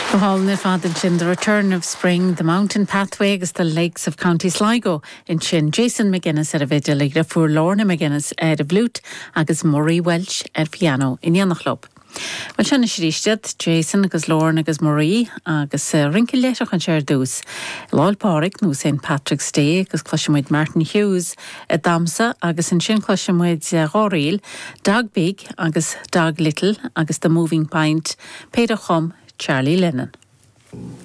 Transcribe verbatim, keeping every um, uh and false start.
Go hálainn ar fad ansin the Return of Spring, the Mountain Pathway agus the Lakes of County Sligo ansin Jason McGuinness ar an bhfidil a dheirfiúr Lorna McGuinness ar an bhfliúit agus Murray Welch ar piano in éineacht leo. Well sin arís Jason agus Lorna agus Murray agus uh, rince leithreach anseo ar dtús. Lá 'le Pádraig nó St Patrick's Day agus cloisfimid Martin Hughes ag damhsa agus ansin cloisfimid dhá ríl, Dog Big agus Dog Little agus The Moving Pint, péire a chum Charlie Lennon.